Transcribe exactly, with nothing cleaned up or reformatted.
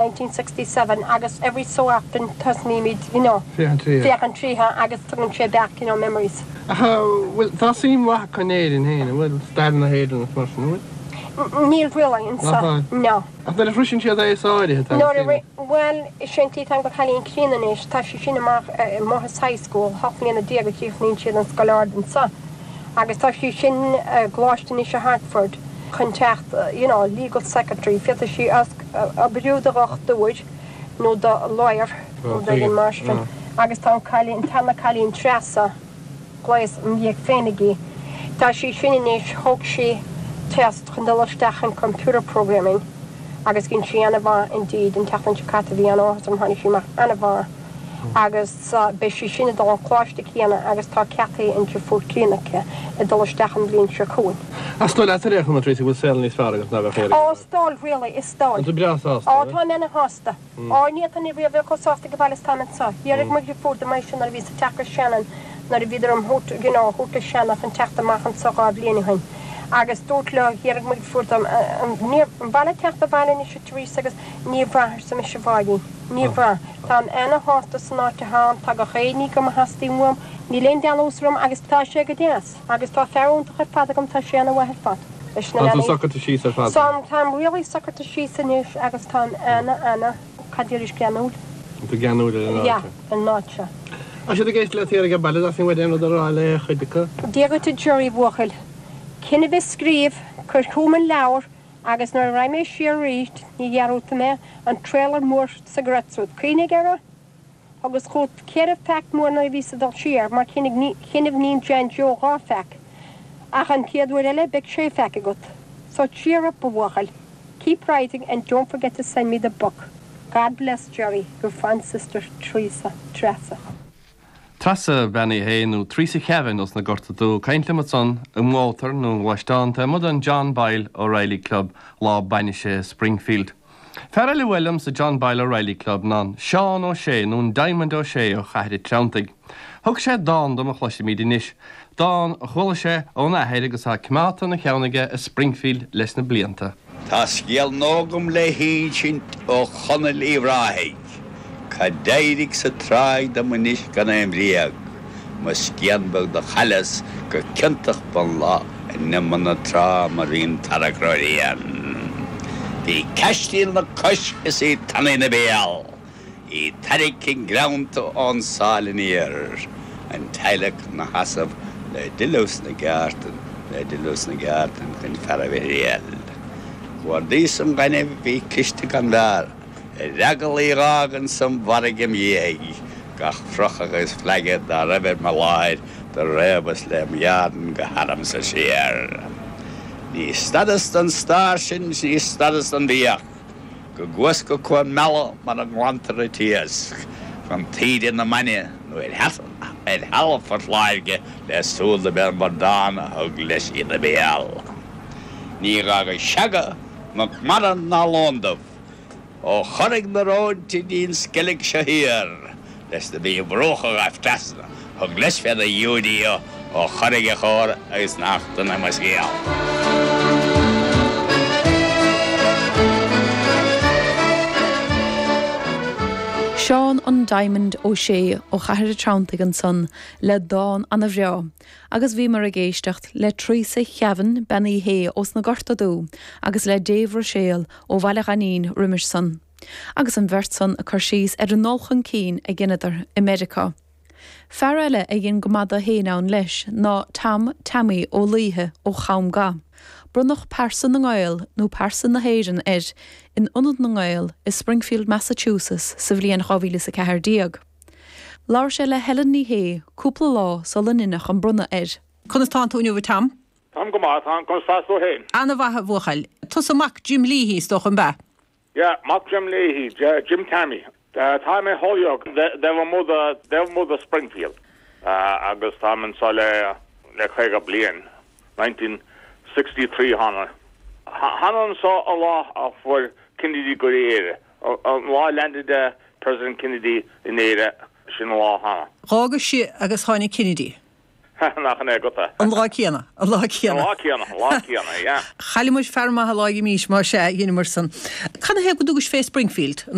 nineteen sixty seven agus every so often tosnaímid you know Féachaint tríothu. féachaint tríothu agus tugann sé back you know memories. Ach bhfuil, tá suim mhaith acu in Éirinn féin, an bhfuil, stair na hÉireann agus mar sin, an bhfuil? Níl really anso, Nach bhfuil? no. Ach nuair a shroiseann siad aos áirithe tá Nuair a suim. ri, bhuel, is é an tslí tá mo chailín críonna anois, tá sí sin amach i Moyes High School, hocht mbliana déag a chríochnaíonn siad an scoil ard anso agus tá sí sin i gcoláiste anois i Hartford chun teacht you know legal secretary, féadfaidh sí oibriú do dhochtúir nó do lawyer nó rud éigin mar sin agus tá an cailín, an tarna cailín Treasa, gléas im dhiaidh féin aici, tá sí sin anois, thóg sí test chun dul isteach in computer programming agus dhein sí ana-mhaith indeed an tseachtain seo caite bhí an-áthas orm tháinig sí amach ana-mhaith agus beidh sí sin ag dul an coláiste céanna agus tá ceaptha an deirfiúr críonna aici ag dul isteach an bhliain seo chugainn. Ach is dóigh leat ar aon chuma, Treasa, go bhfuil saol níos fearr agat ná bheadh Éire Ó, is dóigh, really, is dóigh. Tá tú breá sásta, Ó, táim ana-shásta. Ó, ní fhéadfainn riamh a bheith chomh sásta ag baile is táim anseo. Dhéarfaidh mo dheirfiúr dom é sin nuair a bhíos ag teacht go Shannon, nuair a bhíodar im thabhairt, you know, thabhairt go Shannon chun teacht amach anseo dhá bhliain ó shin. Agus dúirt leo, dhéarfaidh mo dheirfiúr dom, an mhaith leat teacht abhaile anois a Teresa agus níor bhraith, arsa mise, a Mháirín. Níor bhraith. Táim ana-shásta san áit atáim, tá gach aon ní agam a theastaíonn uaim, níl aon dealús orm agus tá sé go deas. Agus tá fear iontach ar fad agam, tá sé ana-mhaith ar fad leis na Tá tú leanaí. socraithe síos ar fad. So, táim really socraithe síos anois agus táim ana, ana, cad déarfais, geanúil. Tá tú geanúil ar an áit Yeah, seo. an áit seo. Tá siad ag éisteacht leat thiar ag an baile, theastaigh uait aon rud a rá le cuid acu? Dia dhuit a Jerry bhuachaill. Cinn a bheith scríobh, cuir chugam an leabhar agus nuair a raghaidh mé siar arís, ní dhearúdfaidh mé an trailer mór cigarettes uait. Cuimhnigh air agus chugat ceithre phack mór nuair a bhíos ag dul siar mar chinnibh Níon Jan Joe dhá phack. Ach an chéad uair eile beidh sé phack agat. So cheer up, a bhuachaill. Keep writing and don't forget to send me the book. God bless Jerry, your fond sister Teresa. Treasa. Treasa Bean Uí Shé nó Teresa Kevin os na Gorta Dubha ag caint liom ansan i mótar nó i ngluaisteán taobh amuigh den John Boyle O'Reilly Club lá bainise Springfield. Fear eile a bhuail liom sa John Boyle O'Reilly Club ná Seán Ó Sé nó an Diamond Ó Sé ó Chathair an Treanntaigh. Thug sé dán dom a chloisfimid anois, dán a chuala sé óna athair agus atá coimeádta ina cheann aige i Springfield leis na blianta. Tá scéal nua agam le hinsint ó Chonaill Uíbh Ráthaigh, Cá d'éirigh sa tráigh dom anois gan aon bhréag, Mo scian beag do chailleas go ciontach b'an lá In iomad na trá mar bhí an tarrac ródhian. Bhí caistíl 'na cois is í tanaí 'na béal, Í tarraingthe greanta ón sáil aniar, An teaghlach 'na sheasamh le dilleadh sna gceártan, Le dilleadh sna gceártan chun fear a bhurial. Chuardaíos an gaineamh bhí cliste gan mhear, Ar eagal í dh'fhágaint san bhfarraige im dhiaidh, Gach frochadh agus fleaga dá raibh ar mo láir Do réabas lem dhearn go harmsa siar. Ní stadas don stair sin 's ní stadas don bhfiach, Go gcuas go Cuan Meala mar a nglantar an t-iasc, Chun taoide na mbainne nó ar ar thalamh Phort Láirge le súil do b'é an bradán a thug leis ina béal. Ní dh'fhága seaga ná mara ná lón dubh, Ó Chorraigh na Róinte dtí'n Sceilg seo thiar, leis na bhí bruacha ghaibh trasna, thug leis féna Iúidío ó Chorraigh a chóir agus nach dona mo scéal. Seán an Diamond Ó Sé ó Chathair an Treanntaigh ansan le dán ana-bhreá, agus bhíomar ag éisteacht le Teresa Cheavin Bean Uí Shé ós na Gorta Dubha agus le Dave Ruiséal ó Bhaile Ghainín roimis san. Agus an bheirt san ag cur síos ar an ndul chun cinn a dheineadar i Meiriceá. Fear eile a dhein go maith dó féin ann leis ná Tom Tammy Ó Laoithe ó Cham Ga. Bronnadh Pearsa na nGael nó Pearsa na hÉireann air in Ionad na nGael i Springfield, Massachusetts sa bhliain dhá mhíle is a ceathair déag. Labhair sé le Helen Ní Shé cúpla lá sula ndeineadh an bronnadh air. Conas tánn tú inniu a Tom? Táim go maith, táim conas tá tú féin? Ana-mhaith a bhuachaill. Tusa mac Jim Leahy is dócha an b'ea? Yeah, mac Jim Leahy, Jim Tammy. Tá mé Holyoke, taobh amuigh de taobh amuigh de Springfield agus táim anseo le le caoga bliain, nineteen sixty three thána. Thána anseo an lá a fuair Kennedy go Éire, an lá a landed President Kennedy in Éire, sin an lá a thána. D'fhágais-se agus tháinig Kennedy. Nach é go. An lá céanna an lá céanna. Lá céanna lá céanna, yeah. Chailleamar fear maith lá mís mar sé dhéanamar san. Cad é go dtugais fé Springfield